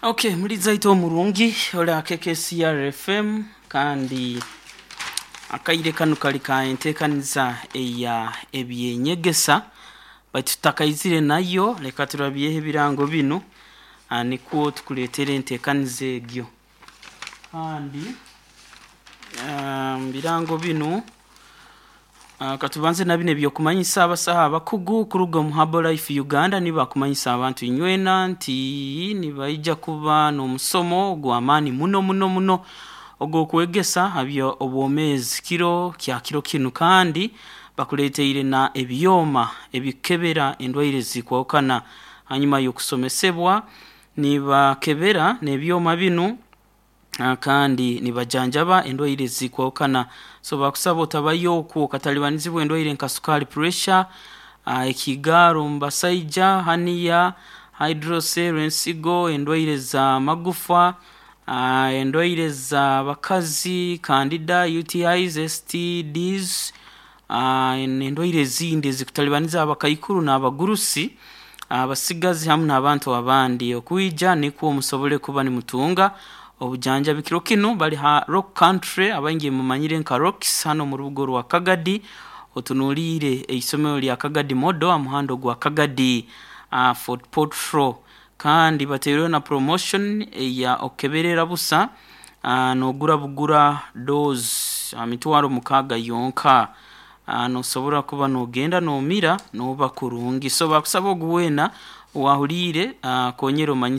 Okay, mulizaito omurungi ola KKCR FM, kandi akaire kanu kali ka enteekaniza eya ebyenyegesa, baitu tutakaizire nayo leka turabyeho ebirango binu, nikwo tukuleetera enteekaniza egyo. Kandi mu birango binu, katubanze na binu ebyokumanyisa abasaho abakugu kuruga omu Herbalife Uganda nibo bakumanyisa abantu inywena nti nibaija kuba n'omusomo gw'amaani muno muno muno ogw'okwegesa ha by'obwomeezi kiro kya kiro kinu, kandi bakuleeteire na ebyoma ebikukebera endwaire ezikwahukana. Hanyuma y'okusomesebwa nibakebera n'ebyoma binu, kandi nibajanjaba endwaire ezikwahukana. So bakusaba otabayo okwo okatalibanizibwa endwaire nka sukaali, pressure, ekigaaro omu basaija, hernia, hydrocele, ensigo, endwaire z'amagufa, endwaire z'abakazi, candida, UTIs, STDs, n'endwaire ezindi ezikutalibaniza abakaikuru n'abagurusi, abasigazi hamu n'abantu abandi. Okwija nikwo musobole kuba nimutunga obujanjabi. Kiro kinu bali ha Rock Country, abaingi mumanyire nka Rocks, hanu omu rubuga orwa Kagadi, otunuliire eisomero lya Kagadi Model aha muhanda ogwa Kagadi Fort Portal. Kandi bataireho na promotion eya okukeberera busa, n'ogura bugura dose ha mitwaro 6 yonka. Nosobora kuba n'ogenda n'omira n'oba kurungi. So bakusaba ogu weena owaahuliire, konyera omanyise.